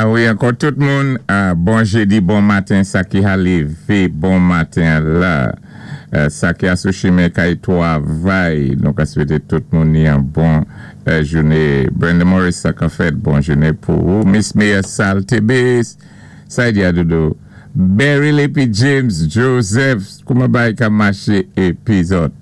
A wi, ankò tout moun, bon jedi, bon maten, sa ki ha lévé bon maten la, sa ki a sou chimen kay twavay, nou ka swété tout moun ni an bon jouné. Brenda Morris, sa ka fèt, bon jouné pou ou. Miss Mia Saltebis, sa y di a dodo? Beryl épi James Joseph, kouman bagay ka maché épi zòt?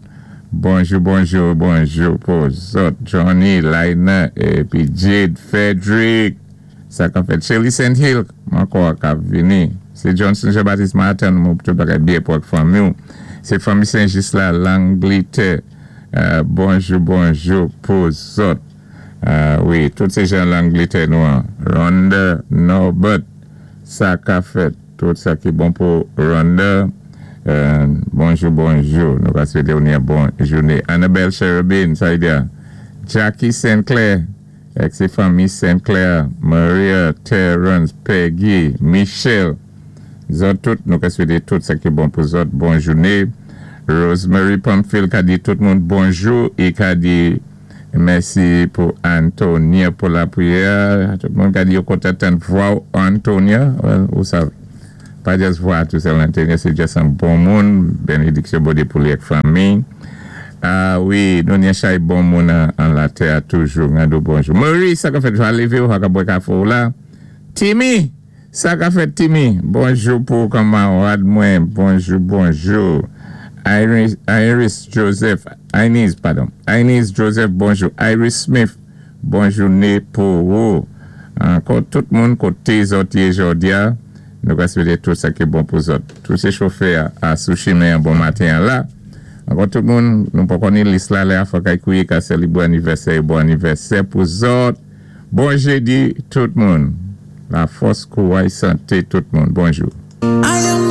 Bonjou, bonjou, bonjou pou zòt. Johnny, Laina, épi Jade, Frederick, sa ka fèt? Shelly St. Hill, ankò ka vini. Sé Johnson Jean-Baptiste Martin, mou tout bagay byen pou ak fanmi ou. Sé fanmi Saint-Just la, Langlitè. Bonjou, bonjou pou zòt. Wi, tout sé jan Langlitè nou an. Rhonda Norbert, sa ka fèt? Tout sa ki bon pou Rhonda. Bonjou, bonjou. Nou ka swété ou ni an bon jouné. Annabelle Cherubin, sa y di a? Jackie St. Clair, ak sé fanmi St. Clair, Maria, Terrence, Peggy, Michelle. Zòt tout, nou ka swété tout sa ki bon pou zòt bon jouné. Rosemary Pamphile ka di tout moun bonjou é ka di mèsi pou Antonia pou lapriyè. Tout moun ka di yo kontan tann vwa ou Antonia. Well, ou sav, pa just vwa tou sèl Antonia, sé just an bon moun. Bénédiksyon Bondyé pou li ak fanmi. A wi, nou ni an chay bon moun an latè a toujou. Ngado bonjou. Maurice, sa ka fèt? Va lévé ou ha ka bwè kafé ou la. Timmy! Sa ka fèt Timmy? Bonjou pou kanmarad mwen, bonjou bonjou. Iris Joseph, Inez padon, Inez Joseph bonjou. Iris Smith bon jouné pou ou. Ankò tout moun koté zòt yé jòdi-a, nou ka swété tout sa ki bon pou zòt. Tout sé chofè a sou chimen an bon maten an la. Ankò tout moun, nou poko ni lis la lè a fòk ay kouye ka sèlibwé anivèsè yo bon anivèsè pou zòt. Bon jedi tout moun. La fòs, kouray, santé tout moun. Bonjou.